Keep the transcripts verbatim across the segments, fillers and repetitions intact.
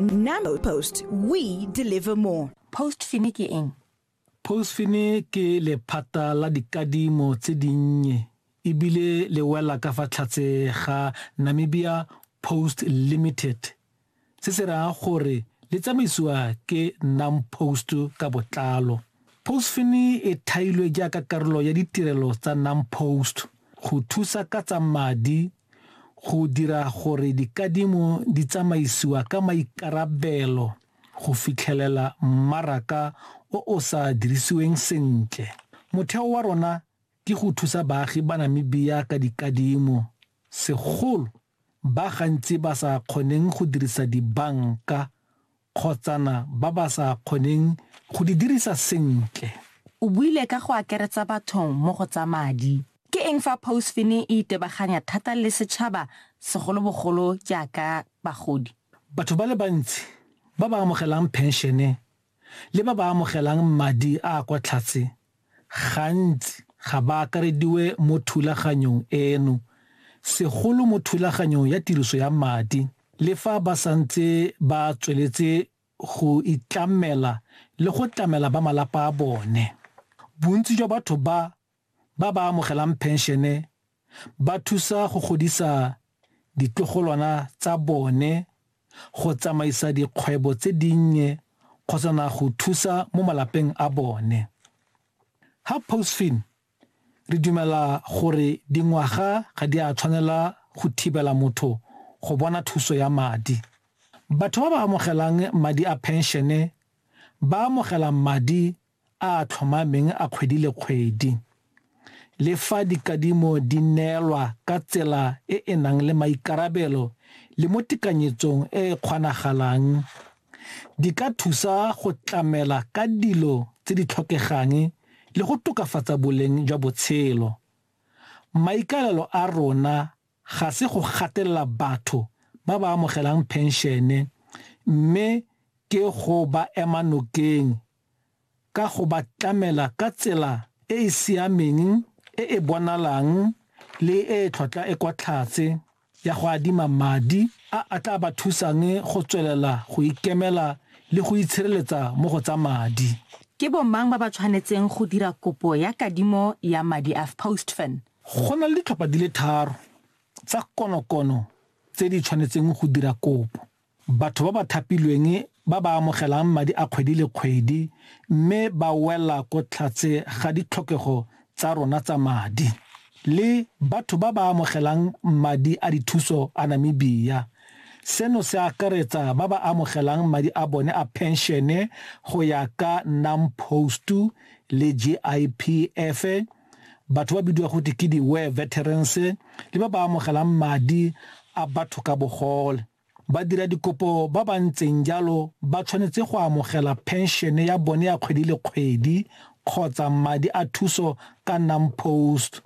NamPost, we deliver more. Postfin ke eng? Postfin ke lephata la dikadimo tse dinnye ebile le wela ka fa tlhatse ga Namibia Post Limited. Se se raya gore le tsamaisiwa ke NamPost ka botlalo. Postfin e thailwe jaaka karolo ya ditirelo tsa NamPost go thusa ka tsa madi go dira gore dikadimo di tsamaisiwa ka maikarabelo go fitlhelela mmaraka o o sa dirisiweng sentle. Motheo wa rona ke go thusa baagi ba Namibia ka dikadimo, segolo ba gantsi ba sa kgoneng go dirisa dibanka kgotsana ba ba sa kgoneng go di dirisa sentle. O buile ka go akaretsa batho mo go tsa madi. Ke eng fa Postfin e itebaganya thata le setšhaba segolobogolo jaaka bagodi? Batho ba le bantsi ba ba amogelang penšene le ba ba amogelang madi a a kwa tlase gantsi ga ba akarediwe mo thulaganyong eno, segolo mo thulaganyong ya tiriso ya madi, le fa ba santse ba tsweletse go itlamela le go tlamela ba malapa a bone. Bontsi jwa batho ba ba ba amogelang penšene ba thusa go godisa ditlogolwana tsa bone, go tsamaisa dikgwebo tse dinnye kgotsana go thusa mo malapeng a bone. Ha Postfin re dumela gore dingwaga ga di a tshwanela go thibela motho go bona thuso ya madi. Batho ba ba amogelang madi a penšene ba amogela madi a a tlhomameng a kgwedi le kgwedi. Le fa dikadimo di neelwa ka tsela e e nang le maikarabelo le mo tekanyetsong e e kgonagalang, di ka thusa go tlamela ka dilo tse di tlhokegang le go tokafatsa boleng jwa botshelo. Maikaelelo a rona ga se go gatelela batho ba ba amogelang penšene, mme ke go ba ema nokeng ka go ba tlamela ka tsela e e siameng, e e bonalang le e e tlhwatlhwa e kwa tlase ya go adima madi a a tla ba thusang go tswelela go ikemela le go itshireletsa mo go tsa madi. Ke bomang ba ba tshwanetseng go dira kopo ya kadimo ya madi a Postfin? Go na le ditlhopha di le tharo tsa konokono tse di tshwanetseng go dira kopo. Batho ba ba thapilweng ba ba amogelang madi a kgwedi le kgwedi mme ba wela ko tlhatse ga ditlhokego tsa rona tsa madi, le batho ba ba amogelang madi a dithuso a Namibia. Seno se akaretsa ba ba amogelang madi a bone a penšene go ya ka NamPost le G I P F, batho ba bidiwa go ke di-war veterans, le ba ba amogelang madi a batho ka bogole. Ba dira dikopo ba ba ntseng jalo ba tshwanetse go amogela penšene ya bone ya kgwedi le kgwedi kgotsa madi a thuso ka NamPost.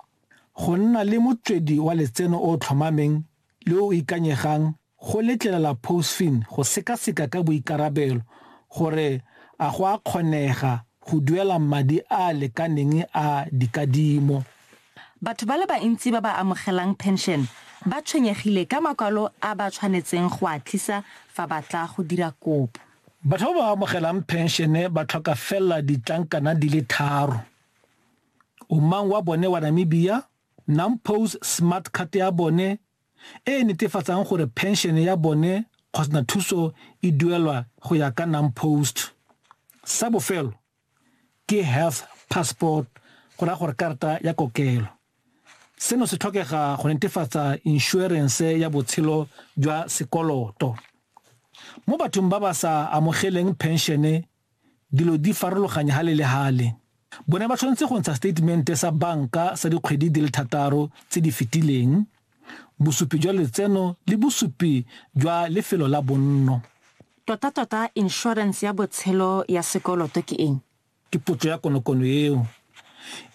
Go nna le motswedi wa letseno o tlhomameng le o ikanyegang go letlelela Postfin go sekaseka ka boikarabelo gore a go a kgonega go duela madi a a lekaneng a dikadimo. Batho ba le bantsi ba ba amogelang pension ba tshwenyegile ka makwalo a ba tshwanetseng go a tlisa fa ba tla go dira kopo. Batho ba ba amogelang penšene ba tlhoka fela ditlankana di le tharo. Omang wa bone wa Namibia, NamPost smart card ya bone e e netefatsang gore penšene ya bone kgotsa thuso e duelwa go ya ka NamPost. Sa bofelo ke health passport, go raya gore karata ya kokelo. Seno se tlhokega go netefatsa inšorense ya botshelo jwa sekoloto. Mo bathong ba ba sa amogeleng penšene, dilo di farologanya hale le hale. Bone ba tshwanetse go ntsha statement sa banka sa dikgwedi di le thataro tse di fetileng, bosupi jwa letseno le bosupi jwa lefelo la bonno. Tota-tota inšorense ya botshelo ya sekoloto ke eng? Ke potso ya konokono eo.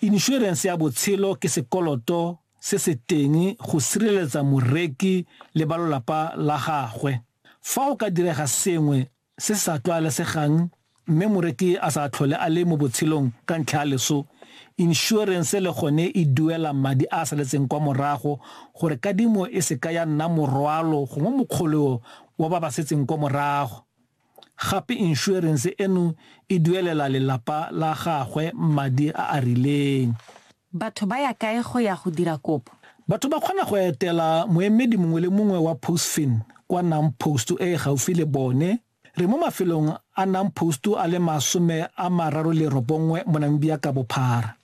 Inšorense ya botshelo ke sekoloto se se teng go sireletsa moreki le ba lelapa la gagwe. Fa go ka direga sengwe se se sa tlwaelesegang mme moreki a sa tlhole a le mo botshelong ka ntlha ya leso, inšorense le gone e duela madi a a saletseng kwa morago gore kadimo e se ka ya nna morwalo gongwe mokgoleo wa ba ba setseng kwa morago. Gape inšorense eno e duelela lelapa la gagwe madi a a rileng. Batho ba ya kae go ya go dira kopo? Batho ba kgona go etela moemedi mongwe le mongwe wa Postfin kwa NamPost e e gaufi le bone. Re mo mafelong a NamPost a le masome a mararo le robongwe mo Namibia ka bophara.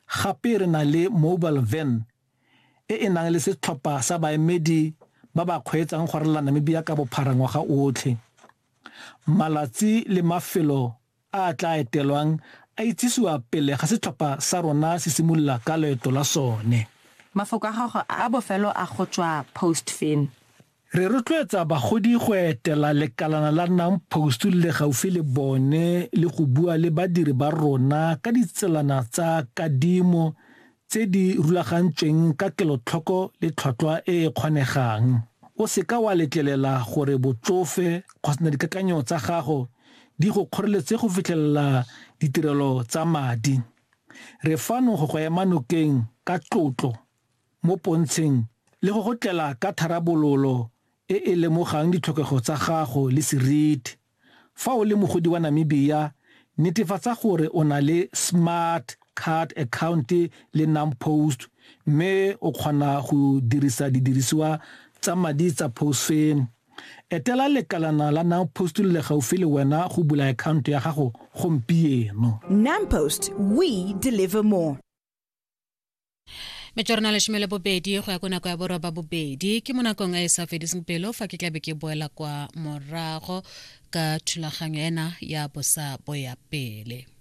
Gape re na le mobile van e e nang le setlhopha sa baemedi ba ba kgweetsang go ralala Namibia ka bophara ngwaga otlhe. Malatsi le mafelo a a tla etelwang a itsisiwa pele ga setlhopha sa rona se simolola ka loeto la sone. Mafoko a gago a bofelo a go tswa Postfin. Re rotloetsa bagodi go etela lekalana la NamPost le gaufi le bone le go bua le badiri ba rona ka ditselana tsa kadimo tse di rulagantsweng ka kelotlhoko le tlhwatlhwa e e kgonegang. O seka wa letlelela gore botsofe kgotsa dikakanyo tsa gago di go kgoreletse go fitlhelela ditirelo tsa madi. Re fano go go ema nokeng ka tlotlo mo pontsheng le go go tlela ka tharabololo e e lemogang ditlhokego tsa gago le seriti. Fa o le mogodi wa Namibia, netefatsa gore o na le smart card account le NamPost mme o kgona go dirisa didirisiwa tsa madi tsa Postfin. Etela lekalana la NamPost le gaufi le wena go bula account ya gago gompieno. NamPost, we deliver more. Metswana leshome le bobedi go ya ko nako ya boroba bobedi ke mo nakong e e sa fediseng pelo fa ke tlabe ke boela kwa morago ka thulaganyo ena ya bosa boya pele.